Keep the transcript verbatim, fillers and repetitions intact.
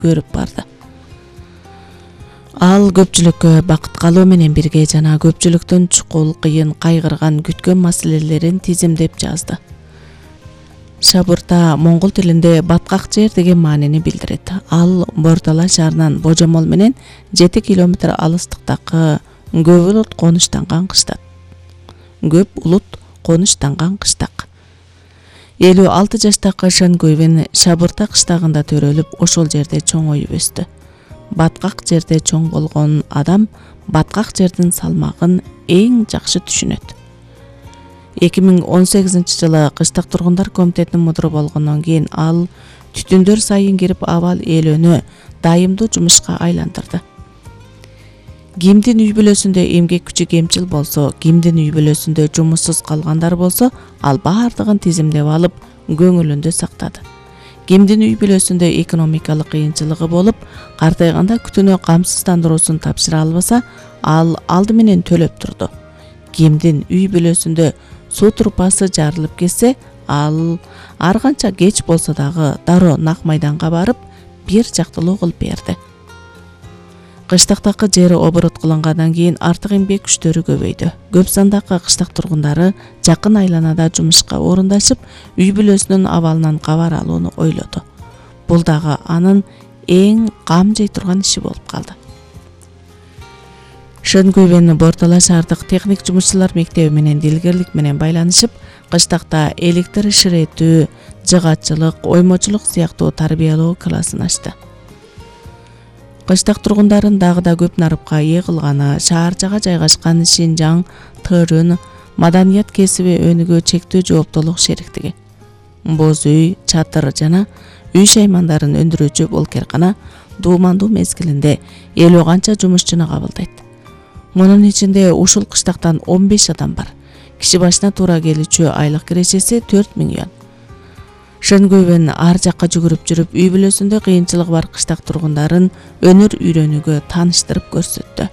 көрүп барды. Ал көпчүлүккө бакыт калуу менен бирге жана көпчүлүктүн чукул, кыйын, кайгырган, күткөн маселелерин тизимдеп жазды. Шабырта моңгол тилинде баткак жер деген маанини билдирет. Ал Бортала шаарынан божомол менен жети километр алыстыктагы көп улут конуштанган кыштак. Көп улут конуштанган кыштак. элүү алты жаштагы Шенгуйвен Шабырта кыштагында төрөлүп, ошол жерде чоңоюп өстү. Баткак жерде чоң болгон адам баткак жердин салмагын эң жакшы түшүнөт. эки миң он сегизинчи жылы кыштак тургундар комитетинин мудуру болгондон кийин ал түтүндөр сайын кирип абал ээлөнү дайымдуу жумушка айландырды. Кимдин үй бүлөсүндө эмгек күчү кемчил болсо, кимдин үй бүлөсүндө жумушсуз калгандар болсо, ал баардыгын тизимдеп алып, көңүлүндө сактады. Кимдин үй бүлөсүндө экономикалык кыйынчылыгы болуп, картайганда күтүүнү камсыздандыруусун тапшыра албаса, ал алды менен төлөп турду. Кимдин үй бүлөсүндө суу трубасы жарылып кетсе, ал ар канча кеч болсо дагы дароо нак майданга барып, бир жактылуу кылып берди. Кыштактагы жер оборот кылынгандан кийин артык эмгек күчтөрү көбөйдү. Көп сандагы кыштак тургундары жакын айланада жумушка орундашып, үй бүлөсүнүн абалынан кабар алууну ойлоду. Бул дагы анын эң кам жей турган иши болуп калды. Шенгуйвен Бортала шаардык техник жумушчулар мектеби менен дилгерлик менен байланышып, кыштакта электр иширетүү, жыгатчылык, оймочулук сыяктуу тарбиялоо классын ачты. Кыштак тургундарын дагы да көп нарыпка ээ кылганы шаарчага жайгашкан Шинжаң, Тырын, маданият кесиби өнүгүү чектүү жооптуулук шериктиги. Боз үй, чатыр жана үй шаймандарын өндүрүүчү бул керкана дуумандуу мезгилинде элүү канча жумушчуну кабылдайт. Мунун ичинде ушул кыштактан он беш адам бар. Киши башына туура келүүчү айлык кирешеси төрт миң юан. Шенгуйвен ар жакка жүгүрүп жүрүп, үй бүлөсүндө кыйынчылыгы бар кыштак тургундарын өнөр үйрөнүүгө тааныштырып көрсөттү.